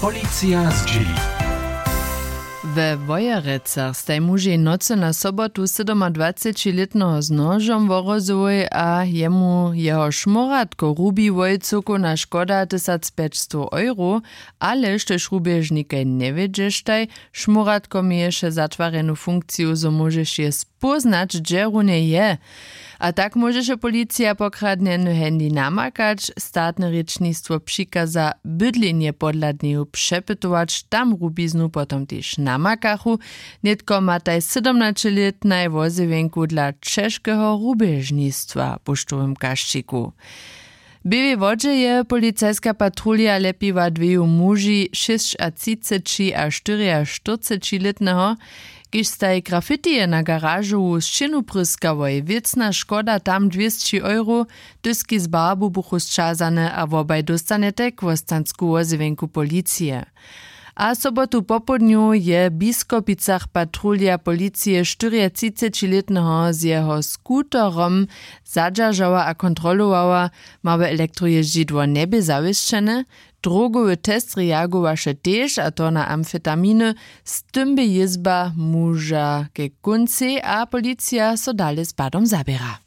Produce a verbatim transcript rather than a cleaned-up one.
Policija zdźěli. We Wojerecach staj mužej nocy na sobotu sydomadwacećilětneho z nožom worozyłoj a jemu jeho šmóratko rubiłoj cyłkowna škoda tysacpjećstow euro. Ale štož rubježnikaj njewědźeštaj, šmóratko měješe zatwarjenu funkciju zo móžeš je spóznać hdźe runje je. A tak móžeše policija pokradnjeny handy namakać. Statne rěčnistwo přikaza bydlenje podhladneju přepytować, tam rubiznu potom tež namakachu. Nětko mataj sydomnaćelětnaj wozjewjenku dla ćežkeho rubježnistwa w pušćowym kašćiku. W běłej wodźe je policajska patrulja lepiła dweju muži šěsćatřiceći a štyriaštyrcećilětneho. Kiž staj grafitije na garažowu sćěnu pryskałoj wěcna škoda tam dwěsći euro. Dyski z barbu buchu sćazane a wobaj dóstanetej kłostansku wozjewjenku policije. A sobotu popołdnju je w biskopicach patrulja policije štyriatřicećilětneho z jeho skuterom zadźeržała a kontrolowała. Małe elektrojězdźidło njebě zawěsćene. Drogowy test reagowaše tež a to na amfetaminy. Z tym bě jězba muža ke kóncej a policija so dale z padom zaběra.